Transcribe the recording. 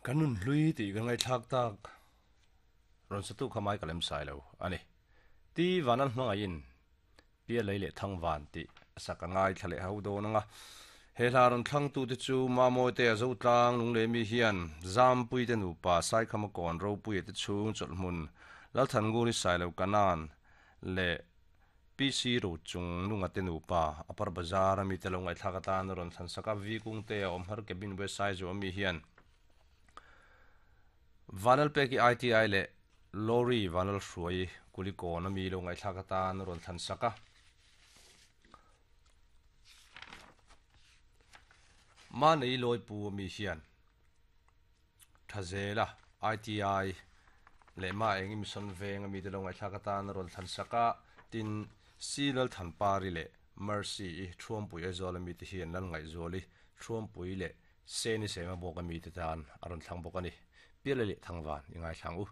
Kan nun hlui tih kan ngaihthlak tak rawn satu kha mai ka lem sai lo a ni. Ti Vanan hmangaihin Pialei leh Thangvan tih a sak a ngaithla leh ho dawn ang a. He hla rawn thlangtute chu Mamawite a Zotlang Lunglemi hian Zampuite nupa Saikhama kawn Ropuia te chhung chawlhhmun Lalthannguri Sailo Kanan leh PC Rochung Lunga te nupa Upper Bazar a mite lo ngaihthlak atan a rawn thlan sak a, V Kungte a awm har Cabin West Saizu a mi hian Vanlalpeki ITI leh Lorry Vanlalhruai Kulikawn a mi lo ngaihthlak atan a rawn thlan sak a. Manei Lawipu a mi hian Thazela ITI leh Ma Engi Mission Veng a mite lo ngaihthlak atan a rawn thlan sak a, tin, Si Lalthanpari leh Mercy i Thuampui Aizawl a mite hian Lalngaihzuali Thuampui leh Seni Sema bawk a mite tan a rawn thlang bawk a ni. Piala leh Thangvan i ngaithlang u.